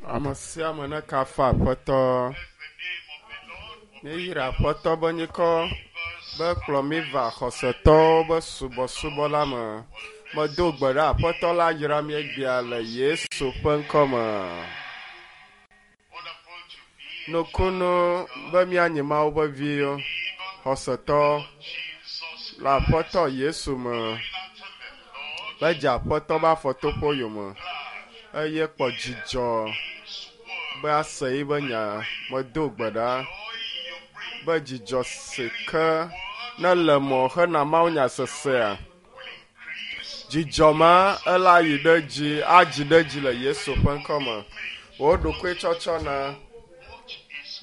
Ame sia ame nekafu Aƒetɔ. Míeyra Aƒetɔ be nyikɔ be kplɔ mí va xɔsetɔwo be subɔsubɔ la me. Medo gbe ɖe Aƒetɔ la yra mí egbea le Yesu ƒe ŋkɔ me. Nukunu be míanyi Mawu ƒe viwo, xɔsetɔ le Aƒetɔ Yesu me. Be dze Aƒetɔ be afɔtoƒe yome eye kpɔ dzidzɔ be ase yiƒe nya. Medo gbe ɖa be dzidzɔ si ke ne le mɔ hena mawunya sesea, dzidzɔ ma ela yi ɖe dzi, adzi ɖe dzi le Yesu ƒe ŋkɔ me. Wò ɖokui tsɔtsɔ na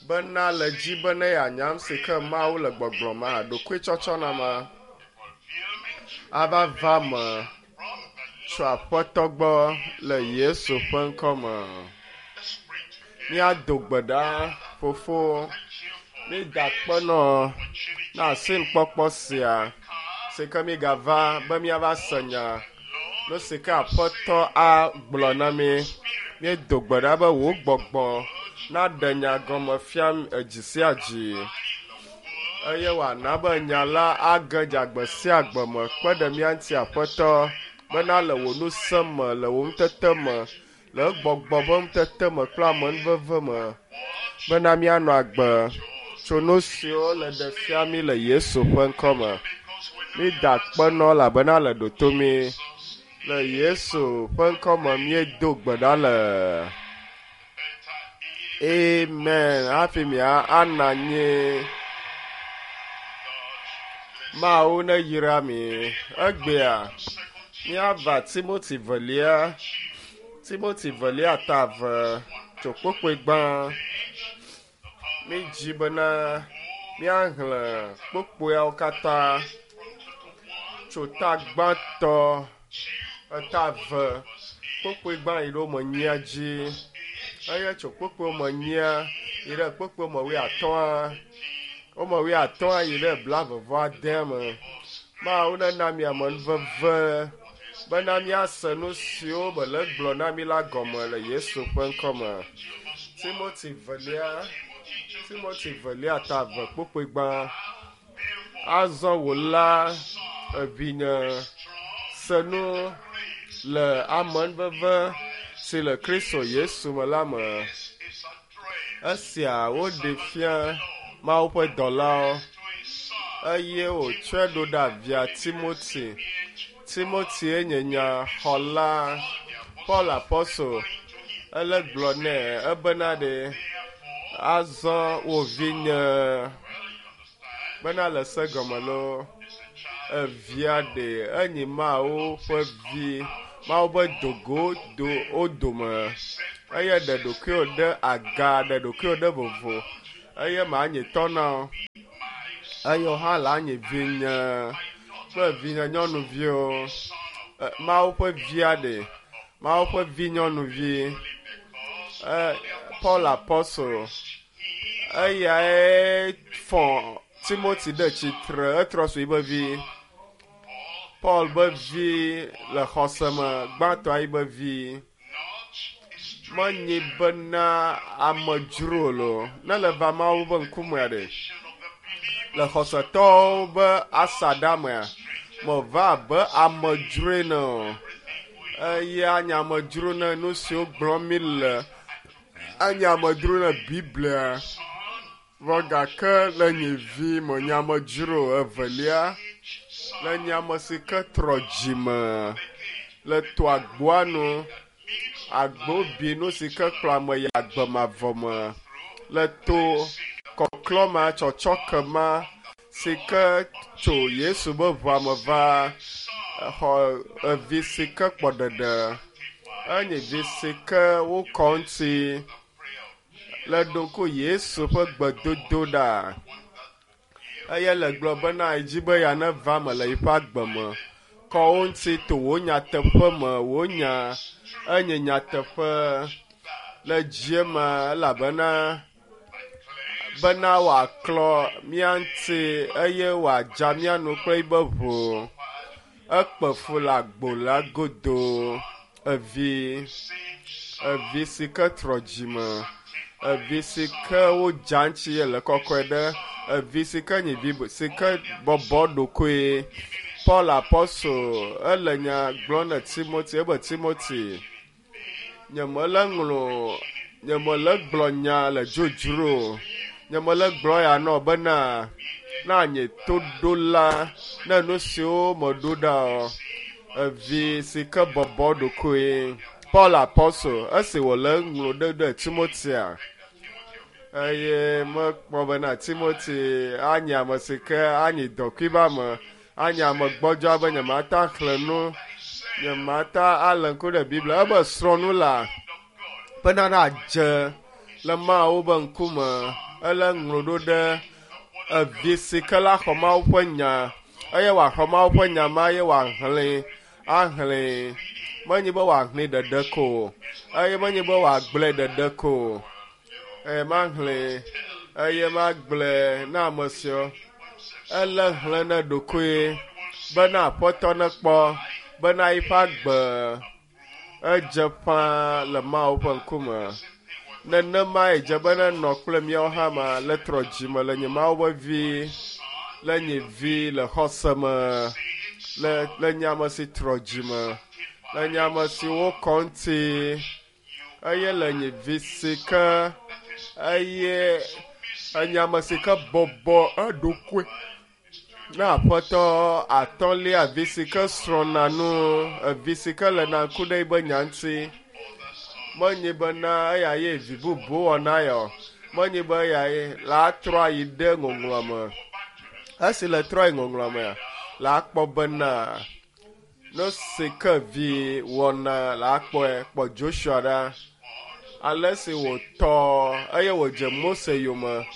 bena le dzi be ne yeanya nu si ke Mawu le gbɔgblɔ ma, ɖokui tsɔtsɔ na ma ava va me tso Aƒetɔ gbɔ le Yesu ƒe ŋkɔ me. Míado gbe ɖa, Fofo, mída akpe nɔ na asinukpɔkpɔ sia si ke mígava be míava se nya nu si ke Aƒetɔ agblɔ na mí. Míedo gbe ɖa be wò gbɔgbɔ naɖe nya gɔme fia edzi sia dzi eye wòana be nya la age dze agbe sia agbe me kpe ɖe mía ŋuti Aƒetɔ bena le wò ŋusẽ me, le wò ŋutete me, le gbɔgbɔ ƒe ŋutete me kple amenuveve me bena míanɔ agbe tso nu siwo le ɖe fia mí le Yesu ƒe ŋkɔ me. Mída akpe nɔ elabena le ɖoto mí. Le Yesu ƒe ŋkɔ me míedo gbe ɖa le. Amen. Hafi mía ana anyi. Mawu ne yra mi. Egbea míava Timoti velia. Timoti velia ta eve tso kpukpui gbã. Mídzi bena míaxlẽ kpukpuiawo katã tso ta gbãtɔ eta eve kpukpui gbã yi ɖe wo me nyia dzi eye tso kpukpui me nyia yi ɖe kpukpui me wuiatɔ̃a wome wuiatɔ̃a yi ɖe blaeve vɔ adea me. Mawu nena mi amenuveve bena míase nu siwo mele gblɔ na mi la gɔme le Yesu ƒe ŋkɔ me. Timoti velia, Timoti velia ta eve kpukpui gbã. Azɔ wò la, evinye, se nu le amenuveve si le Kristo Yesu me la me. Esia woɖe fia Mawu ƒe dɔlawo eye wòtsɔe ɖo ɖa via Timoti. Timotie nye nya xɔla. Paul apɔstol ele gblɔ nɛ ebena ɖe azɔ wò vinye bena le se gɔme loo evia ɖe enyi Mawu ƒe vi Mawu be dogo do wo dome eye ɖe ɖokuiwò ɖe aga ɖe ɖokuiwò ɖe vovo eye manyi tɔ na wò eye wò hã la nyi vinye kple vinye nyɔnuviwo. Mawu ƒe via ɖe Mawu ƒe vi nyɔnuvi. Paul apɔstol eyae fɔ Timoti ɖe tsitre etrɔ zu yiƒe vi. Paul be vi le xɔse me gbãtɔa yiƒe vi. Menyi bena amedzro lo ne le va Mawu ƒe ŋkumea ɖe le xɔsetɔwo be asaɖa mea meva abe amedzroe ne o. Eye anye amedzro ne nu siwo gblɔm mi le anye amedzro ne Biblia. Vɔ gake le nye vi menye amedzro evelia le nye ame si ke trɔ dzime le to agboa nu agbo bi nu si ke kplɔ ame yi agbe mavɔ me le to kɔklɔ ma tsɔtsɔke ma si ke tso Yesu be ʋua me va xɔ evi si ke kpɔ ɖeɖe enye vi si ke wokɔ ŋuti le ɖo ŋku Yesu ƒe gbedodoɖa eye le gblɔ bena edzi be yeaneva me le yiƒe agbe me. Kɔ wo ŋuti to wò nyateƒe me, wò nya enye nyateƒe le dzie me elabena bena wòaklɔ mía ŋuti eye wòadza mía nu kple yiƒe ʋu. Ekpe fu le agbo la godo evi. Evi si ke trɔ dzime, evi si ke wodza ŋuti le kɔkɔe ɖe, evi si ke nyi vi si ke bɔbɔ ɖokoe. Paul Apostle ele nya gblɔm ne Timothy ebe Timothy, nyemele ŋlɔ nyemele gblɔ nya le dzodzro o. Nyemele gblɔ ya nɔ bena na nye toɖola ne nu siwo meɖo ɖa o. Evi si ke bɔbɔ ɖokoe. Paul Apostle esi wòle ŋlɔ ɖe ɖe Timotia eye mekpɔ bena Timothy anye ame si ke anyi dɔkui be ame, anye ame gbɔdzɔa be nyemata xlẽ nu, nyemata alé ŋku ɖe Biblia. Ebe srɔ̃ nu la bena nadze le Mawu be ŋkume. Ele ŋlɔ ɖo ɖe evi si ke la xɔ Mawu ƒe nya eye wòaxɔ Mawu ƒe nya ma eye wòaxlẽe ahlẽe. Menye be wòahlẽe ɖeɖe ko o eye menye be wòagblɔe ɖeɖe ko o. Eye mahlẽe eye magblɔe na ame siwo. Ele xlẽ ne ɖokoe bena Aƒetɔ nekpɔ bena yiƒe agbe edze ƒãa le Mawu ƒe ŋkume. Nenemae dze be nenɔ kple míawo hã ma le trɔ dzime le nye Mawu ƒe vi, le nye vi le xɔse me, le le nye ame si trɔ dzime, le nye ame si wokɔ ŋuti eye le nye vi si ke eye enye ame si ke bɔbɔ eɖokui na Aƒetɔ atɔ̃lia vi si ke srɔ̃na nu, evi si ke lena ŋku ɖe yiƒe nya ŋuti. Menye bena eya ye vi bubu wɔna ya o. Menye be eya ye la trɔ ayi ɖe ŋɔŋlɔa me. Esi le trɔ yi ŋɔŋlɔa mea, la kpɔ bena nu si ke vi wɔna la kpɔe. Kpɔ Joshua ɖa. Ale si wòtɔ eye wòdze Mose yome.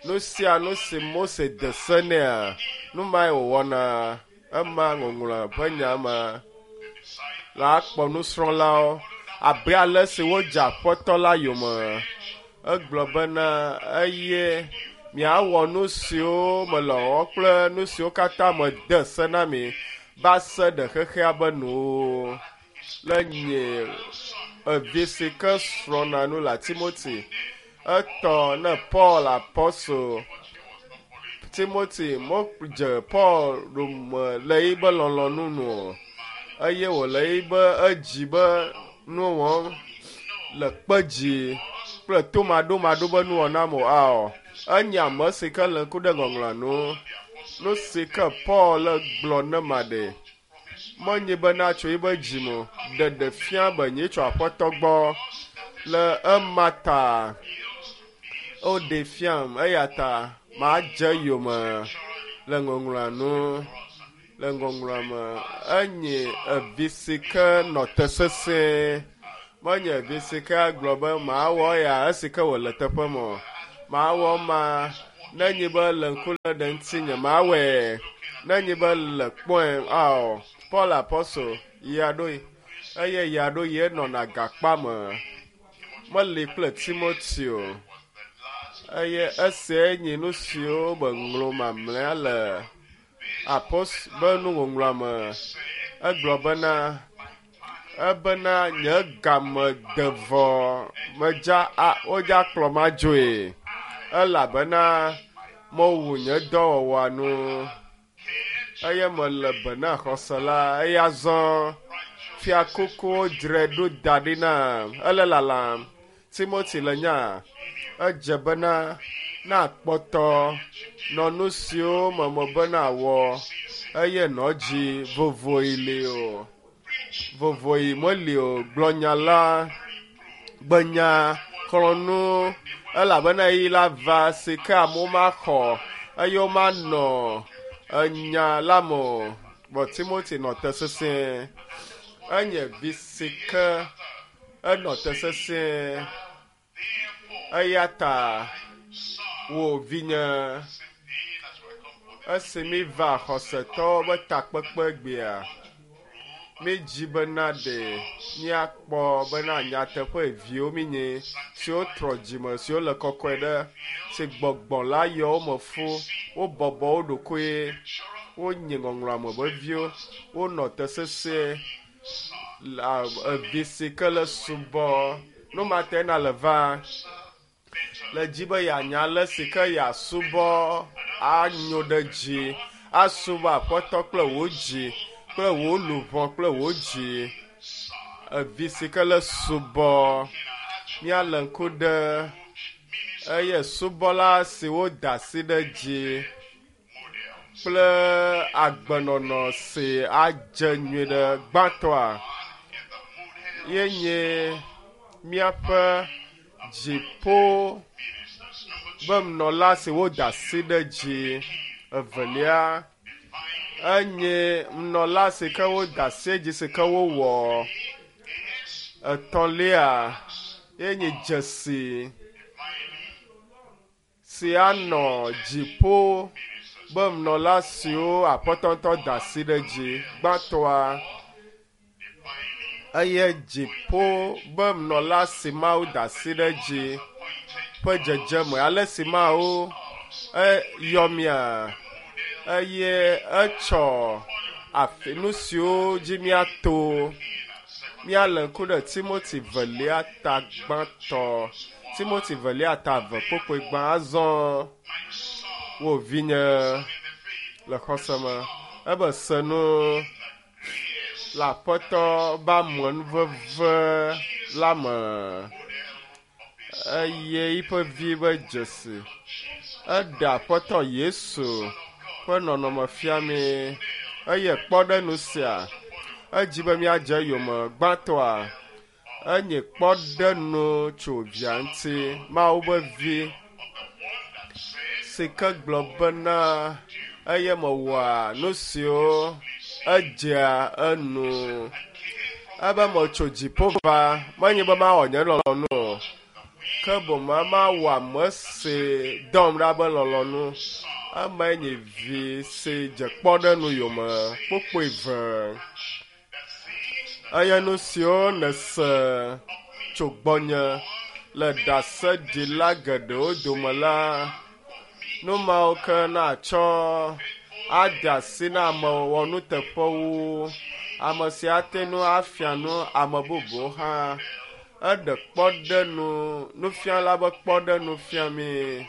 Nu sia nu si Mose de se nɛa, nu mae wòwɔna. Ema ŋɔŋlɔa ƒe nya ma. La kpɔ nusrɔ̃lawo abe ale si wodze Aƒetɔ la yome. Egblɔ bena eye miawɔ nu siwo mele wɔwɔ kple nu siwo katã mede se na mi va se ɖe xexea be nuwo. Le nye evi si ke srɔ̃na nu la Timothy, etɔ ne Paul Apostle. Timothy modze Paul ɖome le yiƒe lɔlɔ̃nu nu o eye wòle yiƒe edzi be nu wɔm le kpe dzi kple tomaɖomaɖo be nuwɔna me o. Ao, enye ame si ke le ŋku ɖe ŋɔŋlɔa nu. Nu si ke Paul le gblɔ ne ma ɖe, menye bena tso yiƒe dzi me o, ɖeɖe fia be nye tso Aƒetɔ gbɔ. Le ema ta woɖe fiam eya ta madze yome le ŋɔŋlɔa nu. Le ŋɔŋlɔa me enye evi si ke nɔ te sesẽ. Menye evi si ke agblɔ be mawɔ ya esi ke wòle teƒe me o. Mawɔ ma nenye be le ŋku lé ɖe ŋutinye mawɔe. Nenye be le kpɔe ao. Paul Apostle ya ɖoe eye ya ɖo ye nɔna gakpa me. Meli kple Timothy o. Eye esia nye nu siwo meŋlɔ mamlɛa le Apost be nuŋɔŋlɔa me. Egblɔ bena ebena nye game de vɔ medza a wodza kplɔ ma dzoe elabena mewu nye dɔwɔwɔa nu eye mele be na xɔse la eya zɔ fiakukuwo dzrae ɖo da ɖi nam ele lalam. Timothy le nya edze bena na kpɔtɔ nɔ nu siwo me mebe wɔ eye nɔ dzi vovoyi li o. Vovoyi meli o. Gblɔ nya la, gbe nya, xlɔ̃ nu elabena ɣeyiɣi la va si ke amewo maxɔ eye womanɔ enya la me o. Vɔ Timothy nɔ te sesĩe. Enye vi si ke enɔ te sesĩe. Eya ta wò vinye esi mi va xɔsetɔwo be takpekpe gbea, mi dzi bena ɖe míakpɔ bena nyateƒe viwo mi nye siwo trɔ dzime siwo le kɔkɔe ɖe si gbɔgbɔ la yɔ wo me fu wobɔbɔ wo ɖokoe wonye ŋɔŋlɔa me be viwo wonɔ te sesĩe la evi si ke le subɔ. Nu ma te na le va le dzi be yeanya ale si ke yeasubɔ anyo ɖe dzi, asubɔ Aƒetɔ kple wò dzi, kple wò luʋɔ kple wò dzi. Evi si ke le subɔ, míalé ŋku ɖe eye subɔla si woda asi ɖe dzi kple agbenɔnɔ si adze nyuie ɖe gbãtɔa ye nye míaƒe dziƒo be nunɔla si woda asi ɖe dzi. Evelia enye nunɔla si ke woda asi dzi si ke wowɔ. Etɔ̃lia ye nye dzesi si anɔ dziƒo be nunɔla siwo Aƒetɔ ŋutɔ da asi ɖe dzi. Gbãtɔa eye dziƒo be nunɔla si Mawu da asi ɖe dzi ƒe dzedzeme. Ale si Mawu eyɔ mía eye etsɔ afi nu siwo dzi míato. Míalé ŋku ɖe Timoti velia ta gbãtɔ. Timoti velia ta eve kpokpoe gbã azɔ wò vinye le xɔse me. Ebe se nu le Aƒetɔ be amenuveve la me eye yiƒe vi be dzesi. Eɖe Aƒetɔ Yesu ƒe nɔnɔme fia mí eye kpɔ ɖe nu sia. Edzi be míadze eyome gbãtɔa enye kpɔɖenu tso via ŋuti, Mawu be vi si ke gblɔ bena eye mewɔa nu siwo edzea enu. Ebe metso dziƒo va, menye be mawɔ nye lɔlɔ̃nu o, ke boŋ mawɔ ame si dɔm ɖa be lɔlɔ̃nu. Emae nye vi si dze kpɔɖenu yome kpokpoe ve. Eye nu siwo nèse tso gbɔnye le ɖaseɖila geɖewo dome la, nu mawo ke natsɔ ade asi na ame wɔnuteƒewo, ame si ate ŋu afia nu ame bubuwo hã. Eɖe kpɔɖenu, nufiala be kpɔɖenu fia mí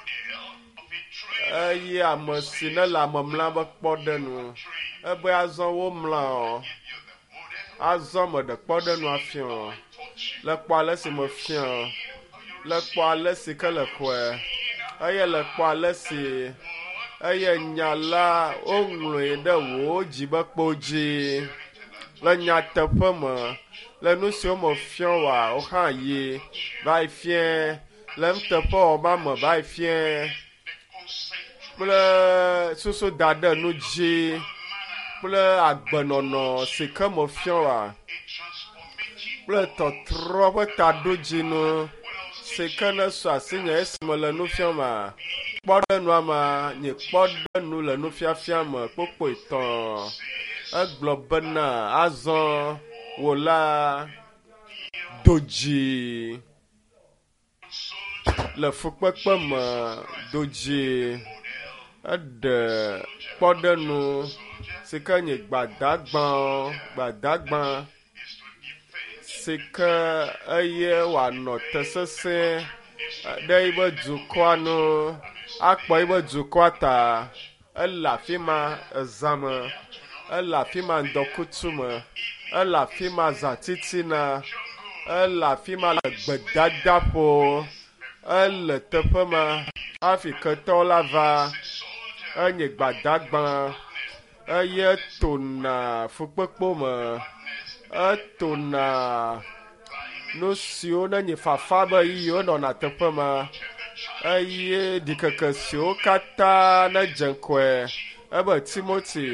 eye ame si nele ame mlam be kpɔɖenu. Ebe azɔ womla o. Azɔ meɖe kpɔɖenu afia o. Le kpɔ ale si mefia o. Le kpɔ ale si ke le xɔe. Eye le kpɔ ale si eye nya la woŋlɔe ɖe wò dzi be kpo dzi. Le nyateƒe me, le nu siwo mefia woa, wo hã yi va yi fia le nuteƒewɔwɔ ma me va yi fia kple susu da ɖe nu dzi kple agbenɔnɔ si ke mefia woa kple tɔtrɔ ƒe taɖodzinu si ke ne su asinye esime le nu fiam ma kpɔɖenua ma nye kpɔɖenu le nufiafia me kpokpoe tɔ̃. Egblɔ bena azɔ wò la do dzi le fukpekpe me do dzi. Eɖe kpɔɖenu si ke nye gbadagba gbadagba si ke eye wòanɔ te sesẽ ɖe yiƒe dukɔa nu akpɔ yiƒe dukɔa ta. Ele afi ma ezã me, ele afi ma ŋdɔkutsu me, ele afi ma zãtitina, ele afi ma le gbedadaƒo, ele teƒe ma hafi ketɔwo la va. Enye gbadagba eye tona fukpekpewo me, etona nu siwo nenye fafa be ʋeyiʋiwo nɔna teƒe ma eye ɖikeke siwo katã nedze ŋgɔe ebe Timoti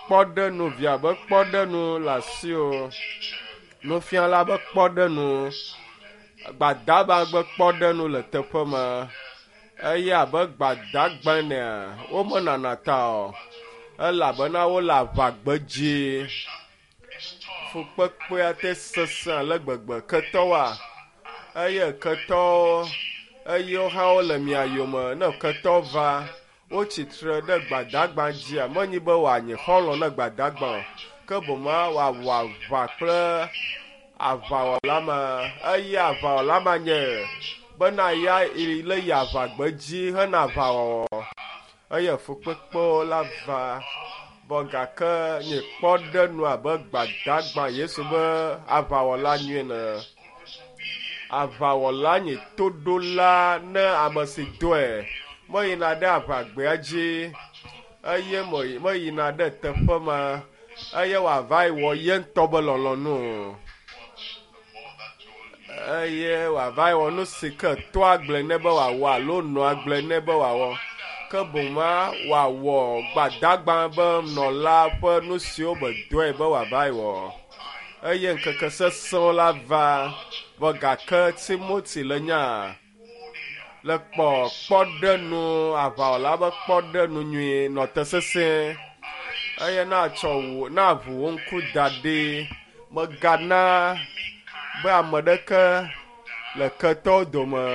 kpɔɖenu via be kpɔɖenu le asiwò, nufiala be kpɔɖenu, gbadagba be kpɔɖenu le teƒe ma eye abe gbadagba enea, womenana ta o elabena wole aʋagbedzi. Fukpekpea te sesẽ ale gbegbe. Ketɔwoa, eye ketɔwo eye wo hã wole mia yome. Ne ketɔ va, wotsi tre ɖe gbadagba dzia, menye be wòanye xɔlɔ̃ ne gbadagba o, ke boŋ wòawɔ aʋa kple Aʋawɔla ma eye aʋawɔla ma nye bena ya le yi aʋagbedzi hena aʋawɔwɔ eye fukpekpewo la va vɔ gake nye kpɔ ɖe nu abe gbadagba Yesu be aʋawɔla nyuie ne. Aʋawɔla nye toɖola ne ame si dɔe meyina ɖe aʋagbea dzi eye meyina ɖe teƒe ma eye wòava yi wɔ ye ŋutɔ be lɔlɔ̃nu o. Eye wòava yi wɔ nu si ke toa gblɔe nɛ be wòawɔ alo nɔa gblɔe nɛ be wòawɔ. Ke boŋ ma wòawɔ gbadagba be nɔla ƒe nu siwo be dɔe be wòava yi wɔ. Eye ŋkeke sesẽwo la va vɔ gake Timoti le nya le kpɔ kpɔɖenu aʋawɔla be kpɔɖenu nyui nɔ te sesẽ eye natsɔ wò naʋu wò ŋku da ɖi megana be ame ɖeke le ketɔwo dome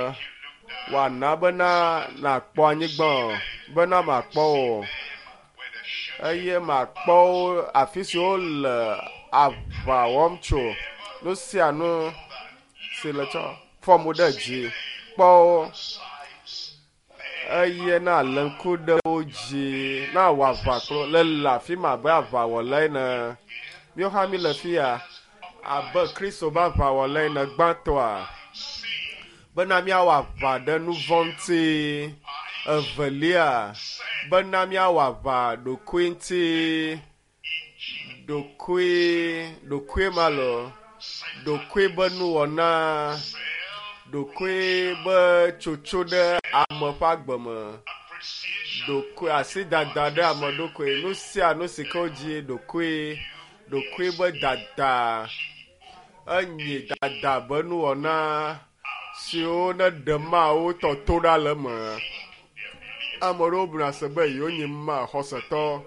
wòana bena nàkpɔ anyigba o bena makpɔ o eye makpɔ wo afi si wole aʋa wɔm tso nu sia nu si le tsɔ fɔm ɖe dzi kpɔ wo eye na lé ŋku ɖe wo dzi na wɔ aʋa kple le le afi ma abe aʋawɔla ene. Míawo hã mi le fi ya abe Kristo be aʋawɔla ene gbãtɔa bena míawɔ aʋa ɖe nu vɔ̃ ŋuti. Evelia bena míawɔ aʋa ɖokui ŋuti. Ɖokui ɖokui ma lo ɖokui be nuwɔna ɖokui be tsotso ɖe ame ƒe agbe me ɖokui asidada ɖe ame ɖokui nu sia nu si ke wodzi ɖokui ɖokui be dada enyi dada be nuwɔna siwo ne ɖe mawo tɔ to ɖa le eme. Ame ɖewo buna se be yewo nyi ma xɔsetɔ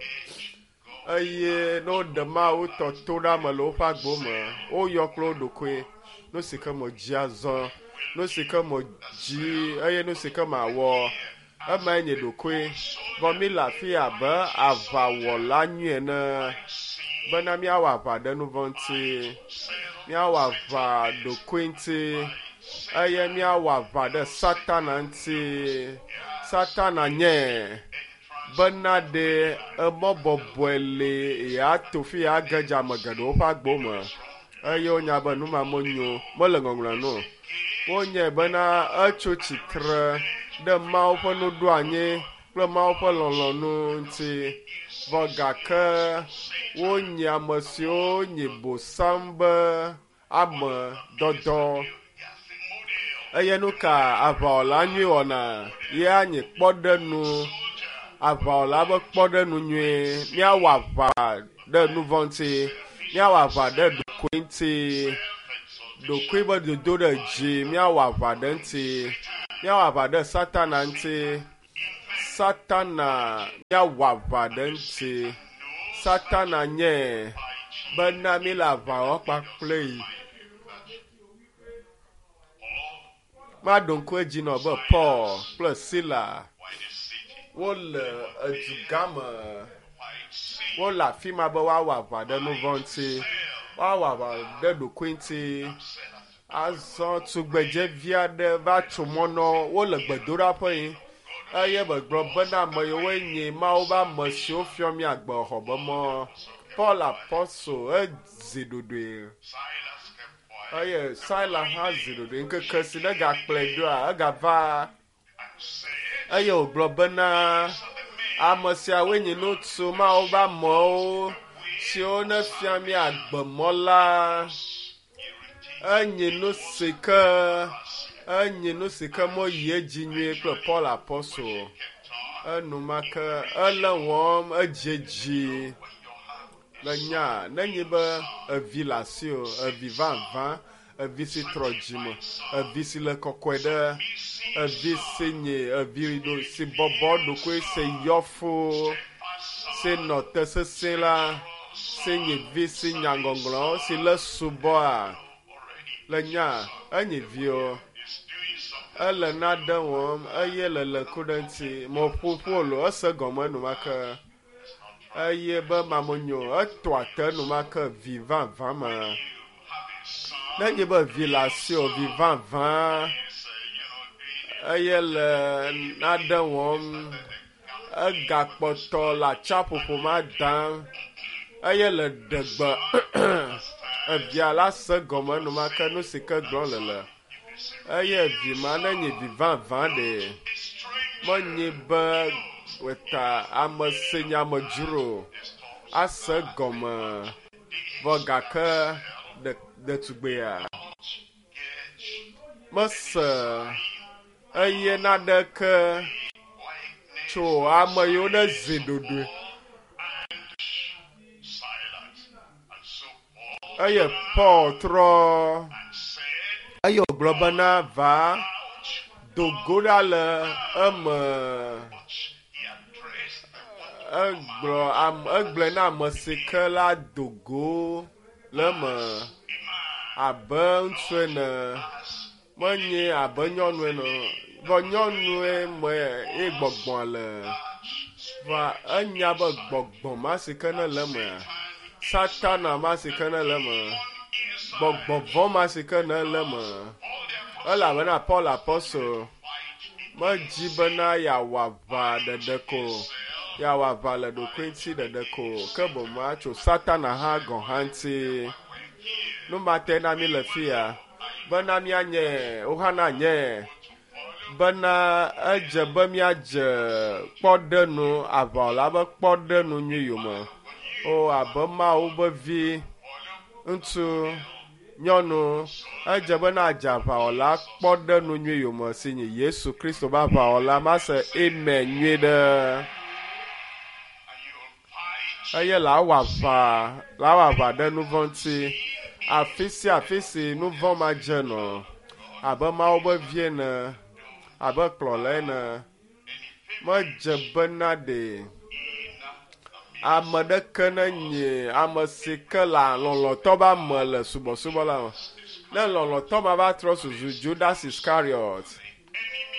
eye ne woɖe mawo tɔ to ɖa me le woƒe agbo me woyɔ kple wo ɖokui nu si ke me dzi azɔ nu si ke me dzi eye nu si ke mawɔ emae nye ɖokui vɔ mi le afi abe aʋawɔla nyui ene bena míawɔ aʋa ɖe nu vɔ̃ ŋuti míawɔ aʋa ɖokui ŋuti eye míawɔ aʋa ɖe satana ŋuti satana nye bena ɖe emɔ bɔbɔe li yeato fi yeage dze ame geɖewo ƒe agbo me eye wonya be nu ma menyo mele ŋɔŋlɔa nu o. Wonyae bena etso tsitre ɖe Mawu ƒe nuɖoanyi kple Mawu ƒe lɔlɔ̃nu ŋuti vɔ gake wonyi ame siwo nyi bosam be ame dɔdɔ. Eye nu ka aʋawɔla nyui wɔna ye anyi kpɔɖenu aʋawɔla be kpɔɖenu nyui míawɔ aʋa ɖe nu vɔ̃ ŋuti míawɔ aʋa ɖe ɖokui ŋuti ɖokui be dodo ɖe dzi míawɔ aʋa ɖe ŋuti míawɔ aʋa ɖe satana ŋuti satana míawɔ aʋa ɖe ŋuti satana nye bena mi le aʋa wɔm kpakple yi. Maɖo ŋku edzi nɔ be Paul kple Sila wole edugã me wole afi ma be woawɔ aʋa ɖe nu vɔ̃ ŋuti woawɔ aʋa ɖe ɖokui ŋuti azɔ tugbedzevi aɖe va tso mɔ nɔ wole gbedoɖaƒe yi eye megblɔ bena ame yiwoe nye Mawu be ame siwo fiɔ mi agbe xɔ be mɔ Paul apɔstol ezi ɖoɖoe eye Sila hã zi ɖoɖoe ŋkeke si ne gakplɔe ɖoa egava eye wògblɔ bena ame siawoe nye ŋutsu Mawu be amewo siwo ne fia mi agbemɔ la enye nu si ke enye nu si ke meyi edzi nyuie kple Paul apɔstol enumake ele wɔm edziedzi le nya nenye be evi le asiwò evi vavã evi si trɔ dzime evi si le kɔkɔe ɖe evi si nye evi ɖo si bɔbɔ ɖokui si yɔ fũ si nɔ te sesẽ la si nye vi si nya ŋɔŋlɔwo si le subɔa le nya enye viwo ele nane wɔm eye le le ku ɖe ŋuti meƒoƒo lo ese gɔme enumake eye be mamenyo etɔa te enumake vi vavã me. Nenye be vi le asiwò, vi vavã, eye le nane wɔm, egakpɔtɔ le atsiaƒoƒo ma dam eye le ɖe gbe evia la se gɔme enumake nu si ke gblɔm le le. Eye vi ma nenye vi vavã ɖe, menye be wòta ame si nye amedzro ase gɔme vɔ gake ɖetugbia mese eye naneke tso ame yiwo ne zi ɖoɖoe. Eye Paul trɔ eye wògblɔ bena va do go ɖa le eme. Egblɔ ame egblɔe na ame si ke la do go le eme abe ŋutsu ene menye abe nyɔnu ene o. Vɔ nyɔnue me ye gbɔgbɔ le. Vɔa enya be gbɔgbɔ ma si ke ne le emea, Satana ma si ke ne le eme, gbɔgbɔ vɔ̃ ma si ke ne le eme. Elabena Paul apɔstol medzi bena yeawɔ aʋa ɖeɖe ko, yeawɔ aʋa le ɖokui ŋuti ɖeɖe ko, ke boŋ atso Satana hã gɔ̃ hã ŋuti. Nu ma tae na mí le fiya bena míanye, wo hã nanye bena edze be míadze kpɔɖenu aʋawɔla be kpɔɖenu nyui yome. O abe Mawu be vi, ŋutsu, nyɔnu, edze be nadze aʋawɔla kpɔɖenu nyui yome si nye Yesu Kristo be aʋawɔla. Mase amen nyui ɖe. Eye lawɔ aʋa, lawɔ aʋa ɖe nu vɔ̃ ŋuti. Afi sia afi si nu vɔ̃ ma dze nɔ, abe Mawu be vi ene, abe kplɔla ene, medze bena ɖe ame ɖeke nenye ame si ke le lɔlɔ̃tɔ be ame le subɔsubɔ la me. Ne lɔlɔ̃tɔ ma va trɔ zuzu Judas Iscariot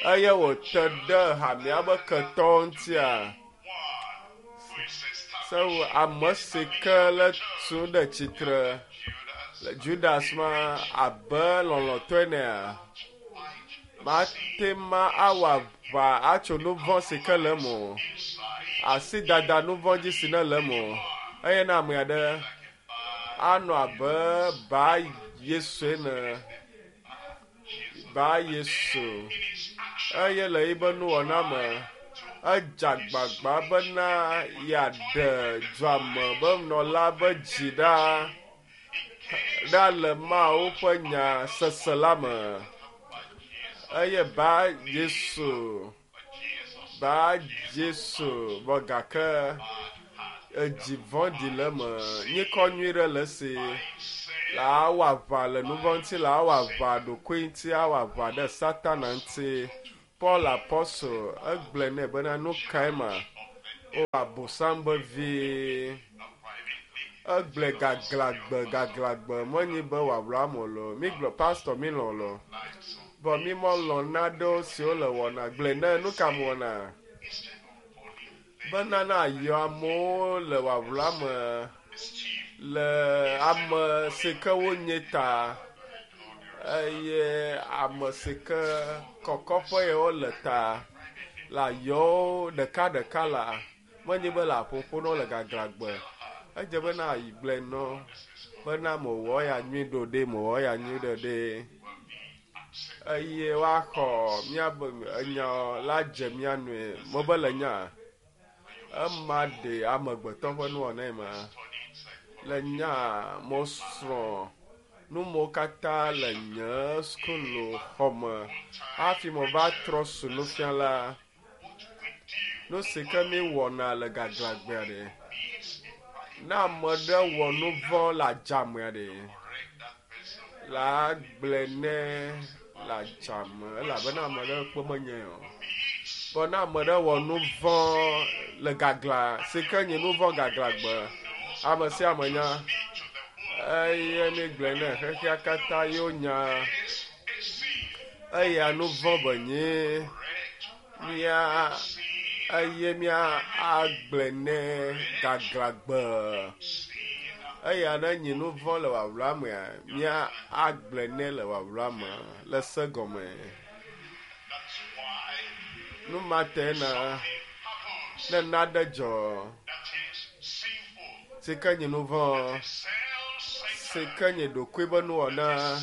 eye wòte ɖe hamea be ketɔwo ŋutia, Sewu ame si ke le tu ɖe tsitre le Judas ma abe lɔlɔ̃tɔe enea, mate ma awɔ aʋa atso nu vɔ̃ si ke le eme o, asi dada nu vɔ̃ dzi si ne le eme o, eye ne ame aɖe anɔ abe ba Yesu ene. Ba Yesu eye le yibe nuwɔna me edze agbagba bena yeaɖe dua me be nɔla be dzi ɖa ɖa le Mawu ƒe nya sese la me. Eye ba Yesu Ba Jesu vɔ gake edzi vɔ̃ɖi le eme. Nyikɔ nyui ɖe le esi. La awɔ aʋa le nuvɔ̃ ŋuti, la awɔ aʋa ɖokui ŋuti, awɔ aʋa ɖe Satana ŋuti. Paul apɔstol egblɔe nɛ bena nu kae ma? O Abosam be vi. Egblɔe gaglãgbe gaglãgbe menyi be wòawla ame o loo. Migblɔ pastor milɔ̃ loo. Vɔ mi melɔ̃ naɖewo siwo le wɔna gblɔe ne nuka mewɔna bena na yɔ amewo le wawla me le ame si ke wonye ta eye ame si ke kɔkɔƒe ye wole ta la yɔ wo ɖeka ɖeka la menye be le aƒoƒo na wo le gaglãgbe. Edze be na gblɔe nɔ bena mewɔ ya nyui ɖo ɖe mewɔ ya nyui ɖo ɖe. Eye woaxɔ míabe enya la dze mía nue. Mebe le nya ema ɖe amegbetɔ ƒe nuwɔna ma. Le nya mesrɔ̃ nu mawo katã le nye sukulu xɔme hafi meva trɔ su nufiala. Nu si ke míewɔna le gaglãgbea ɖe, ne ame ɖe wɔ nu vɔ̃ le adzamea ɖe, la gblɔe nɛ le adzame elabena ame ɖe kpɔ menyae o. Vɔ ne ame ɖe wɔ nu vɔ̃ le gaglã si ke nye nu vɔ̃ gaglãgbe, ame sia ame nya eye míegblɔe nɛ xexea katã ye wonya. Eya nu vɔ̃ be nye mía eye mía agblɔe nɛ gaglãgbe. Eya ne nyi nu vɔ̃ le wawla mea, mía agblɔe nɛ le wawla me le se gɔme. Nu ma te na ne naɖe dzɔ si ke nyi nu vɔ̃, si ke nyi ɖokui be nuwɔna,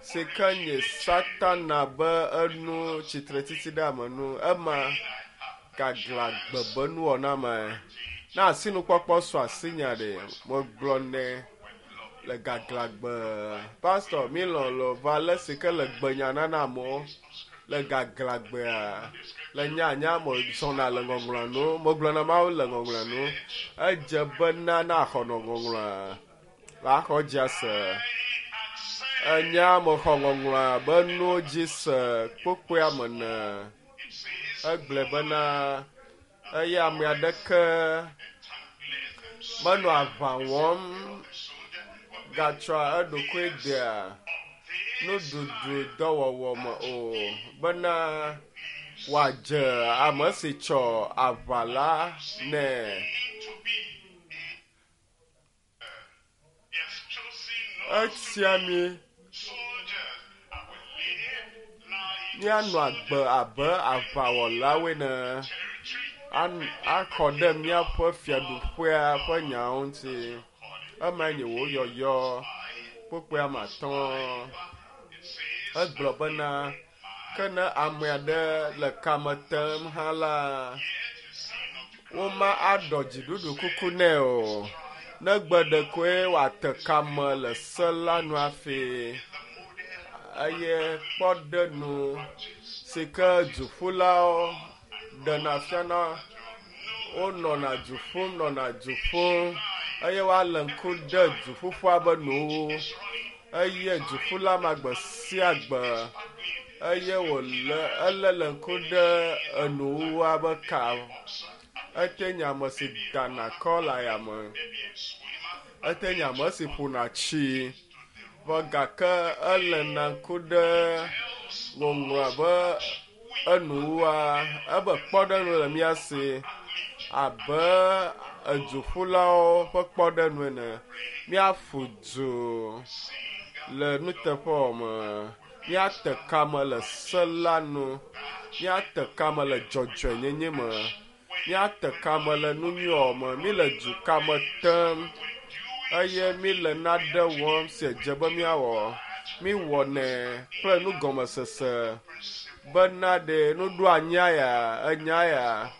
si ke nyi Satana be enu tsitretsitsi ɖe ame nu, ema gaglãgbe be nuwɔna me. Ne asinukpɔkpɔ su asinye ɖe, megblɔ nɛ le gaglãgbe. Pastor, mílɔ̃ lo va ale si ke le gbenya nana amewo le gaglãgbea, le nyanya me zɔna le ŋɔŋlɔa nu, megblɔna Mawu le ŋɔŋlɔa nu. Edze bena na xɔ nɔ ŋɔŋlɔa, la xɔ dzi ase. Enya mexɔ ŋɔŋlɔa be nuwo dzi se kpokpoea me ne. Egblɔe bena eye ame aɖeke menɔ aʋa wɔm gatsɔa eɖokui dea nuɖuɖu dɔwɔwɔ me o bena wòadze ame si tsɔ aʋa la nɛ. Etia mi míanɔ agbe abe aʋawɔlawo ene axɔ ɖe míaƒe fiaɖuƒea ƒe nyawo ŋuti. Emae nye wò yɔyɔ kpukpui ame atɔ̃. Egblɔ bena ke ne ame aɖe le kame tem hã la, woma aɖɔ dziɖuɖu kuku nɛ o. Negbe ɖekoe wòate kame le se la nu hafi. Eye kpɔɖenu si ke duƒulawo ɖena fiana wonɔna du ƒum nɔna du ƒum eye woalé ŋku ɖe duƒuƒua be nuwo eye duƒula ma gbe sia gbe eye wòle elé le ŋku ɖe enuwuwua be ka. Ete nye ame si dana kɔ le ayame. Ete nye ame si ƒona tsi. Vɔ gake elena ŋku ɖe ŋɔŋlɔa be enuwua ebe kpɔɖeŋu le mía si abe eduƒulawo ƒe kpɔɖeŋu ene. Míaƒu du le nuteƒewɔwɔ me. Míate kame le se la nu. Míate kame le dzɔdzɔenyenye me. Míate kame le nu nyui wɔwɔ me. Míle du kame tem eye míle nane wɔm si dze be míawɔ. Míwɔnɛ kple nugɔmesese bena ɖe nuɖoanyia ya, enya ya,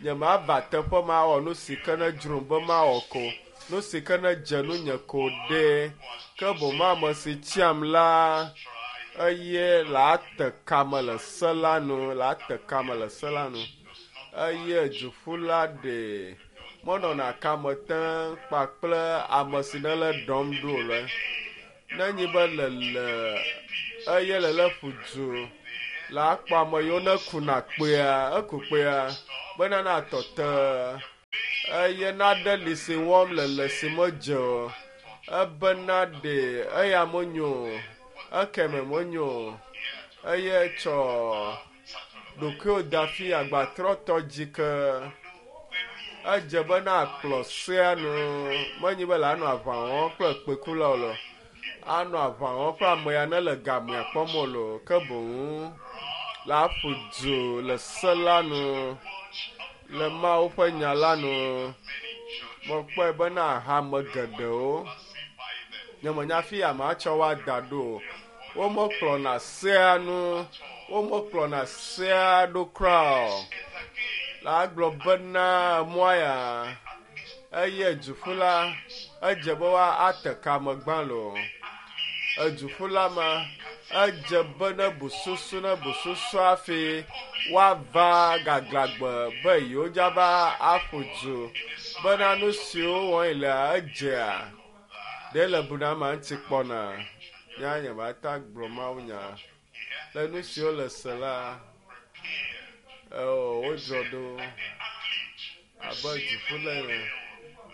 nyemava teƒe ma awɔ nu si ke ne dzrom be mawɔ ko, nu si ke ne dze nunye ko ɖe. Ke boŋ ame si tsiam la, eye la te kame le se la nu, la te kame le se la nu. Eye duƒula ɖe menɔna kame tem kpakple ame si ne le ɖɔm ɖo le. Ne nyi be lele eye lele ƒu du la akpɔ ame yiwo ne kuna kpea, eku kpea bena natɔ te eye naɖe li si wɔm lele si medze o. Ebena ɖe eya menyo o, ekeme menyo o eye tsɔ ɖokuiwò da fi agbatrɔtɔ dzi ke. Edze be na kplɔ sea nu menyi be la nɔ aʋa wɔm kple kpekula o lo. Anɔ aʋa wɔm kple ame ya ne le gamea kpɔm o lo. Ke boŋ la ƒu du le se la nu, le Mawu ƒe nya la nu. Mekpɔe bena hame geɖewo nyemenya fi ya matsɔ wo ada ɖo o. Womekplɔna sea nu, womekplɔna sea ɖo kura o. La gblɔ bena mɔa ya eye duƒula edze be woate kame gbã lo. Eduƒula ma edze be ne bu susu ne bu susu hafi woava gaglãgbe be yewo dzava aƒu du bena nu siwo wɔm yelea edzea ɖe le bu na amea ŋuti kpɔna. Nya nye mata gblɔ Mawunya le nu siwo le se la wodzɔ ɖo abe duƒula ene.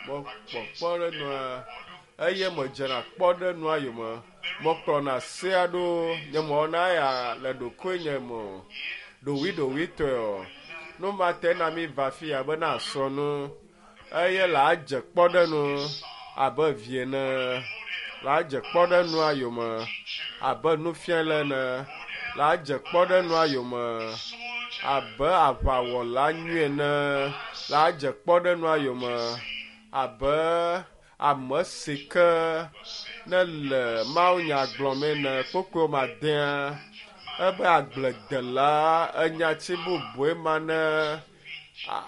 Mekpɔ kpɔɖenua eye medzena kpɔɖenua yome. Mekplɔna sea ɖo nye mewɔna ya le ɖokuinye me o. Ɖowuiɖowuitɔe o. Nu ma te na mi va fi ya be na srɔ̃ nu eye la dze kpɔɖenu. abe vi ene, la dze kpɔɖeŋua yome abe nufiala ene, la dze kpɔɖeŋua yome abe aʋawɔla nyui ene, la dze kpɔɖeŋua yome abe ame si ke ne le mawunya gblɔm ene. Kpukpui ma dea ebe agbledela enyati bubue ma ne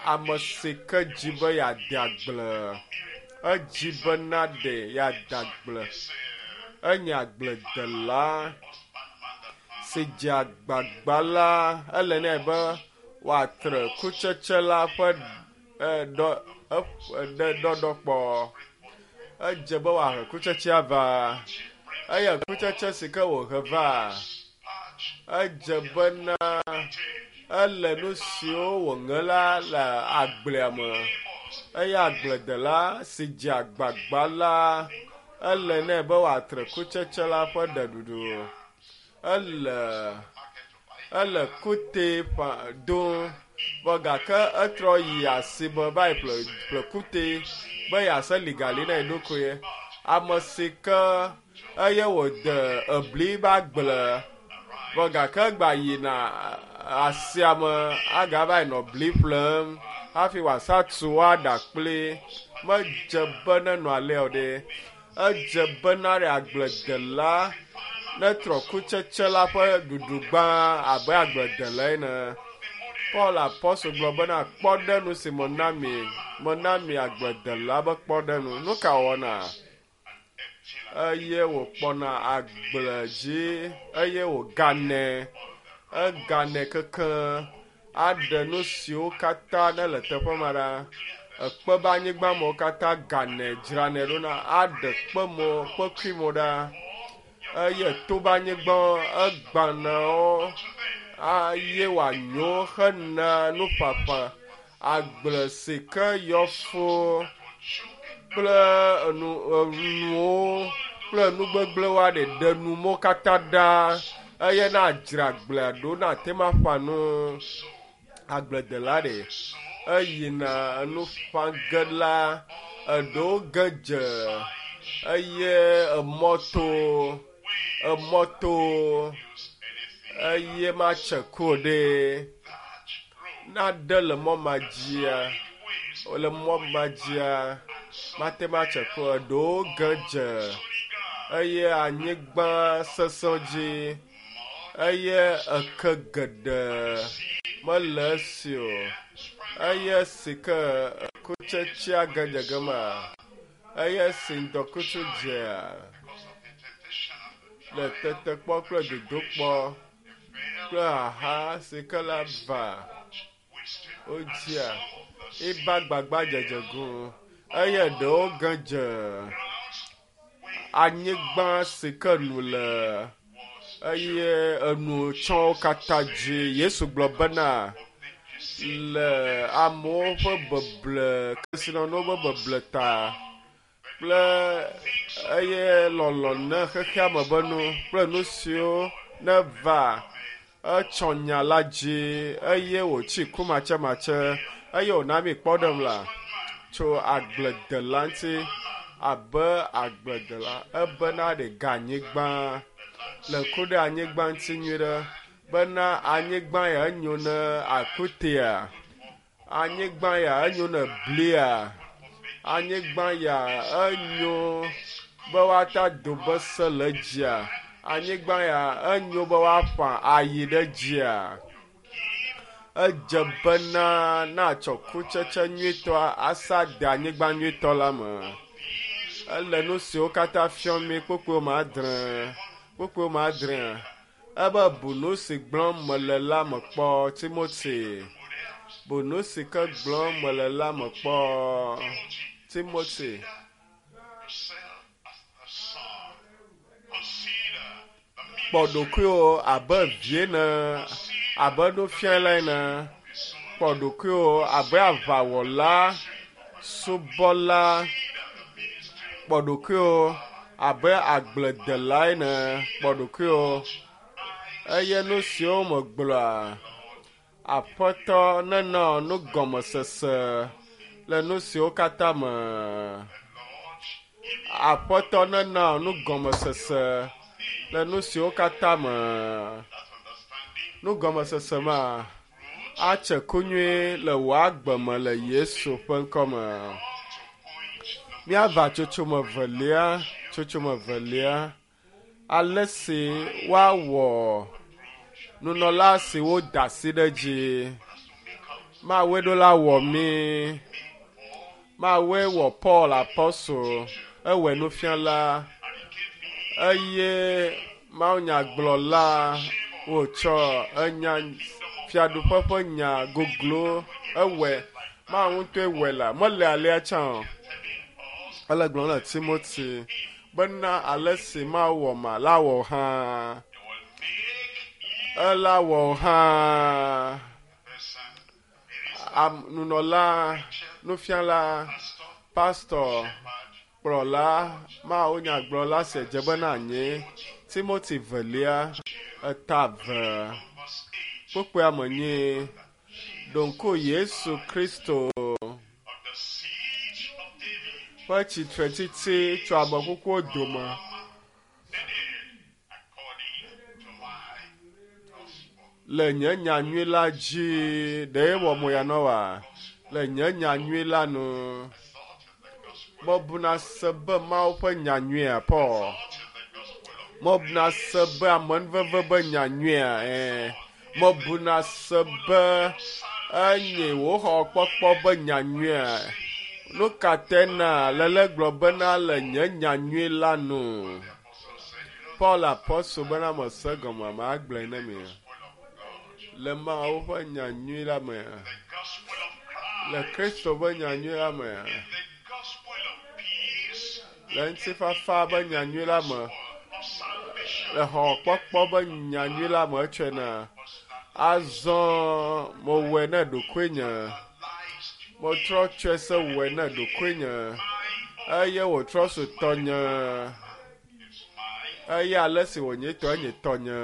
ame si ke dzi be yeade agble, edzi bena ɖe yeade agble, enye agbledela si dze agbagba la, ele nɛ be wòatre kutsetse la ƒe ɖɔɖɔ kpɔ. Edze be wòahe kutsetsea va eye kutsetse si ke wòhe va, edze bena ele nu siwo wòŋe la le agblea me eye agbledela si dze agbagba la, ele nɛ be wòatre kutsetse la ƒe ɖeɖuɖu. Ele ele kute ƒã dom vɔ gake etrɔ yi asime va yi ƒle ƒle kute be yease ligali na eɖokui. Ame si ke eye wòde ebli ƒe agble vɔ gake egba yina asiame agava yi nɔ bli ƒlem hafi wòasa tu woaɖa kpli. Medze be nenɔ alea o ɖe. Edze bena ɖe agbledela netrɔ kutsetse la ƒe ɖuɖu gbã abe agbledela ene. Paul apɔstol gblɔ bena kpɔɖeŋu si mena mi, mena mi agbledela be kpɔɖeŋu. Nu ka wɔna? Eye wòkpɔna agble dzi eye wòganɛ, eganɛ kekeŋ aɖe nu siwo katã ne le teƒe ma ɖa. Ekpe be anyigba mewo katã ganɛ dzranɛ ɖo na aɖe kpe mo kpekui mo ɖa eye to be anyigba egbana wo eye wòanyo hena nuƒaƒã. Agble si ke yɔ fũ kple enu enuwo kple nu gbegblẽwo aɖe ɖe nu mo katã ɖa eye na dzra agblea ɖo na te ma ƒã nu. Agbledela ɖe eyina enu ƒã ge la eɖewo ge dze eye emɔ to emɔ to eye matse ku o ɖe. Naɖe le mɔ ma dzia le mɔ ma dzia mate ŋu atse ku o. Eɖewo ge dze eye anyigba sesẽ dzi eye eke geɖe mele esi o eye si ke kutsetsea ge dze gema eye si ŋdɔkutsu dzea le tetekpɔ kple dodokpɔ kple xaxa si ke la va wodzia eba gbagba dzedze go eye ɖewo ge dze anyigba si ke nu le eye enu tsɔwo katã dzi. Yesu gblɔ bena le amewo ƒe beble kesinɔnuwo ƒe beble ta kple eye lɔlɔ ne xexea me be nu kple nu siwo neva etsɔ nya la dzi eye wòtsi kumatsematse eye wòna mi kpɔɖeŋu la tso agbledela ŋuti abe agbledela ebena ɖe ga anyigba le ku ɖe anyigba ŋuti nyui ɖe bena anyigba ya enyo ne akutea, anyigba ya enyo ne blia, anyigba ya enyo be woata do be se le dzia, anyigba ya enyo be woaƒã ayi ɖe dzia. Edze bena natsɔ kutsetse nyuitɔa asa de anyigba nyuitɔ la me. Ele nu siwo katã fiɔm mi kpukpui ma adre, kpukpui ma adrea. Ebe bu nu si gblɔm mele la me kpɔ, Timothy. Bu nu si ke gblɔm mele la me kpɔ, Timothy. Kpɔ ɖokuiwò abe vi ene, abe nufiala ene. Kpɔ ɖokuiwò abe aʋawɔla, subɔla. Kpɔ ɖokuiwò abe agbledela ene. Kpɔ ɖokuiwò eye nu siwo megblɔa, Aƒetɔ nenɔ nugɔmesese le nu siwo katã me. Aƒetɔ nena nugɔmesese le nu siwo katã me. Nugɔmesese ma atse ku nyuie le wò agbe me le Yesu ƒe ŋkɔ me. Míava tsotsome velia, tsotsome velia, ale si woawɔ nunɔla si woda asi ɖe dzi. Mawue ɖo la wɔ mí. Mawue wɔ Paul apɔstol, ewɔe nufiala eye mawunyagblɔla wòtsɔ enya fiaɖuƒe ƒe nya goglo ewɔe. Mawu ŋutɔe wɔe la, mele alea tsã o. Ele gblɔm le Timothy bena ale si Mawu wɔ ma la wɔ hã. Ela wɔ hã. Am, nunɔla, nufiala, pastɔ, kplɔla, Mawu nyagblɔla si dze bena anyi. Timothy velia, eta ve, kpukpuia me nyi, ɖo ŋku Yesu Kristo ƒe tsitretsitsi tso ame kukuwo dome. Le nye nyanyui la dzi, ɖe wɔ mo ya nɔ wa? Le nye nyanyui la nu, mebuna se be Mawu ƒe nyanyuia, Paul. Mebuna se be amenuveve be nyanyuia, ɛɛ. Mebuna se be enye wò xɔkpɔkpɔ be nyanyuia. Nu ka te na lele gblɔ bena le nye nyanyui la nu? Paul apɔstol bena mese gɔme, magblɔe ne mi. Le Mawu ƒe nyanyui la me, le Kristo ƒe nyanyui la me, le ŋutifafa ƒe nyanyui la me, le xɔkpɔkpɔ ƒe nyanyui la me etsɔe na. Azɔ mewɔe ne ɖokuinye. Metrɔ tsɔe se wɔe ne ɖokuinye eye wòtrɔ su tɔnye. Eye ale si wònye tɔ enye tɔnye.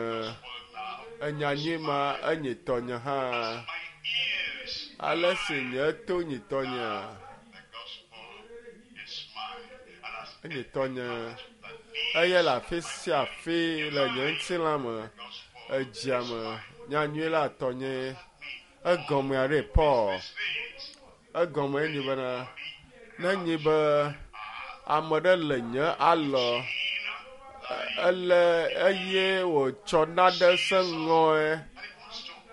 Enya nyui ma enye tɔnye hã. Ale si nye to nyi tɔnye. Enye tɔnye. Eye le afi sia afi le nye ŋutilã me, edzia me, nyanyui la tɔnye. Egɔmea ɖe Paul. Egɔme enyi bena, ne nyi be ame ɖe le nye alɔ, ele eye wòtsɔ naɖe se ŋɔe,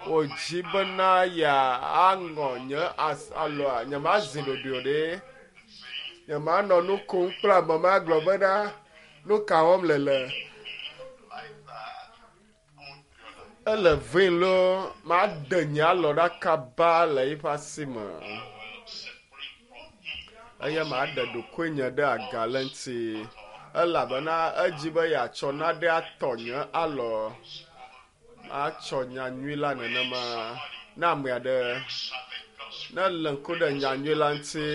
wòdzi bena yeaŋɔ nye alɔa, nyemazi ɖoɖoe o ɖe. Nyemanɔ nu kom kple ame ma gblɔ bena, nu ka wɔm le le. Ele vɛ̃ loo, maɖe nye alɔ ɖa kaba le eƒe asi me. Eye maɖe ɖokuinye ɖe aga le eŋuti elabena edzi be yeatsɔ nane atɔ nye alɔ. Matsɔ nyanyui la nenema na ame aɖe ne lé ŋku ɖe nyanyui la ŋuti.